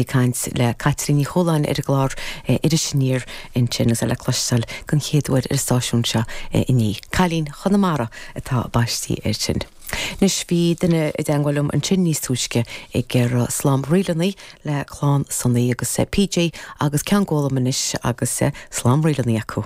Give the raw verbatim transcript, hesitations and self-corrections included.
Caint le Caitríona Ní Chualáin ar an gclár Iris Aniar ansin agus le cloisteáil den chéad uair ar an stáisiún seo inné. Cailín Chonamara atá baiste air sin. Anois bhí duine i dteagmháil liom ansin níos túisce ag iarraidh slám ríleanna le clann Sonaí agus PJ agus ceann gólam anois agus slám ríleanna acu.